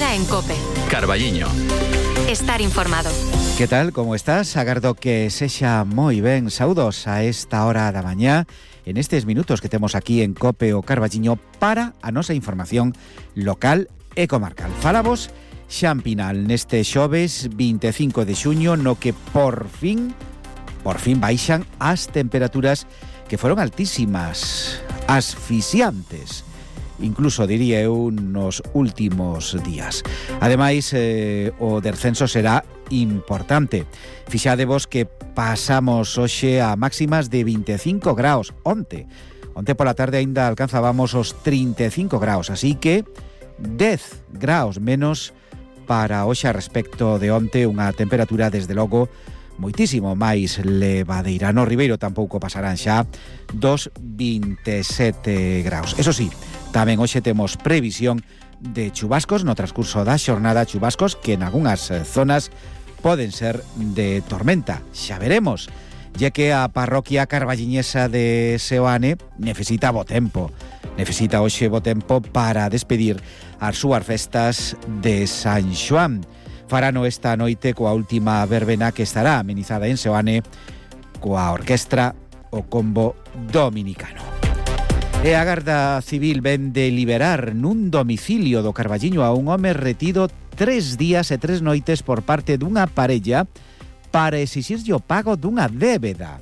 Herrera en COPE. Carballiño. Estar informado. Que tal, como estás? Agardo que sexa moi ben. Saúdos a esta hora da mañá en estes minutos que temos aquí en COPE o Carballiño para a nosa información local e comarcal. Falamos Xan Pinal neste xoves 25 de xuño no que por fin baixan as temperaturas que foron altísimas, asfixiantes, incluso diría eu nos últimos días. Ademais, o descenso será importante. Fixadevos que pasamos hoxe a máximas de 25 graus. Onte pola tarde aínda alcanzábamos os 35 graus, así que 10 graus menos para hoxe a respecto de onte, unha temperatura desde logo moitísimo máis levadeira. No Ribeiro tampouco pasarán xa dos 27 graus. Eso sí, tamén hoxe temos previsión de chubascos no transcurso da xornada, chubascos que en algunhas zonas poden ser de tormenta. Xa veremos, ya que a parroquia carballiñesa de Seoane necesita bo tempo. Necesita hoxe bo tempo para despedir as súas festas de San Xoán. Farano esta noite coa última verbena que estará amenizada en Seoane coa orquestra o Combo Dominicano. E a Garda Civil ven de liberar nun domicilio do Carballiño a un home retido 3 días e 3 noites por parte dunha parella para exixirlle o pago dunha débeda.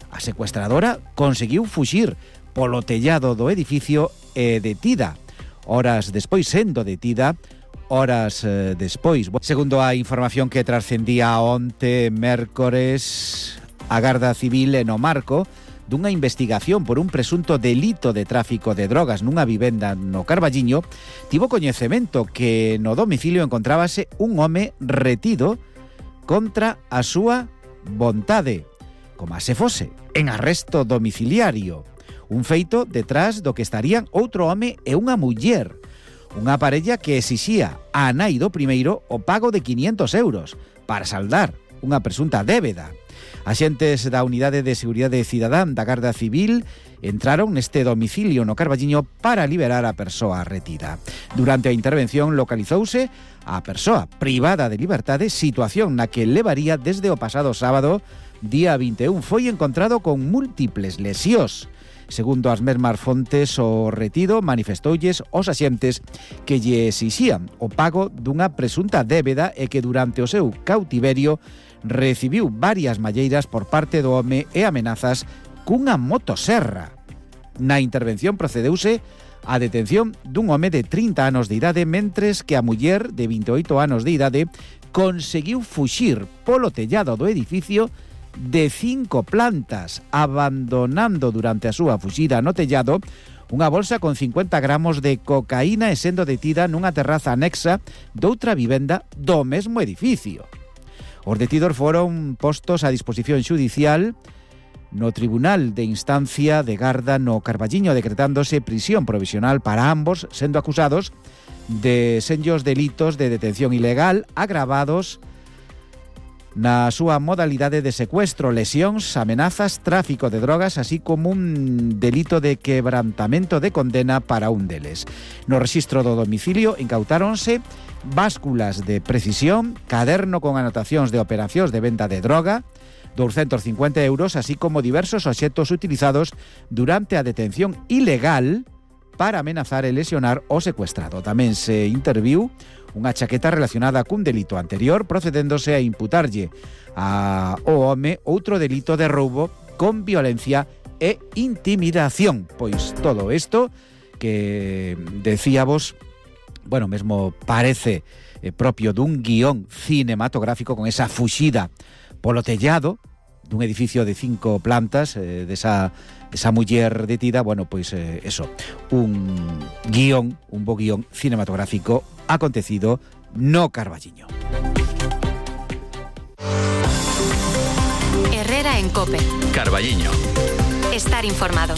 A secuestradora conseguiu fuxir polo tellado do edificio e detida. Horas despois, sendo detida, despois. Segundo a información que trascendía onte mércores, a Garda Civil no marco dunha investigación por un presunto delito de tráfico de drogas nunha vivenda no Carballiño, tivo coñecemento que no domicilio encontrábase un home retido contra a súa vontade, como se fose en arresto domiciliario. Un feito detrás do que estarían outro home e unha muller. Unha parella que exixía a nai do primeiro o pago de 500 euros para saldar unha presunta débeda. Axentes da Unidade de Seguridade Cidadán da Garda Civil entraron neste domicilio no Carballiño para liberar a persoa retida. Durante a intervención localizouse a persoa privada de liberdade, situación na que levaría desde o pasado sábado, día 21. Foi encontrado con múltiples lesións. Segundo as mesmas fontes, o retido manifestoulles aos axentes que lle exixían o pago dunha presunta débeda e que durante o seu cautiverio recibiu varias malleiras por parte do home e amenazas cunha motoserra. Na intervención procedeuse a detención dun home de 30 anos de idade, mentres que a muller de 28 anos de idade conseguiu fuxir polo tellado do edificio de 5 plantas, abandonando durante a súa fuxida no tellado unha bolsa con 50 gramos de cocaína e sendo detida nunha terraza anexa doutra vivenda do mesmo edificio. Os detidos foron postos a disposición xudicial no Tribunal de Instancia de Garda no Carballiño, decretándose prisión provisional para ambos, sendo acusados de senllos delitos de detención ilegal agravados na súa modalidade de secuestro, lesións, amenazas, tráfico de drogas, así como un delito de quebrantamento de condena para un deles. No rexistro do domicilio incautáronse básculas de precisión, caderno con anotacións de operacións de venta de droga, 250 euros, así como diversos obxectos utilizados durante a detención ilegal para amenazar e lesionar o secuestrado. Tamén se interviu unha chaqueta relacionada cun delito anterior, procedéndose a imputarlle ao home outro delito de roubo con violencia e intimidación. Pois todo isto que decíamos, bueno, mesmo parece propio dun guión cinematográfico, con esa fuxida polo tellado dun edificio de 5 plantas, desa muller detida. Bueno, pois eso, un bo guión cinematográfico acontecido no Carballiño. Herrera en COPE. Carballiño. Estar informado.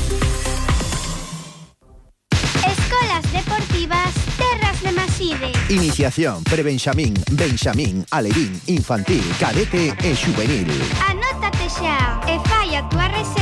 Escolas deportivas Terras de Maside. Iniciación, prebenxamín, benxamín, alevín, infantil, cadete e xuvenil. Anótate xa e fai a túa reserva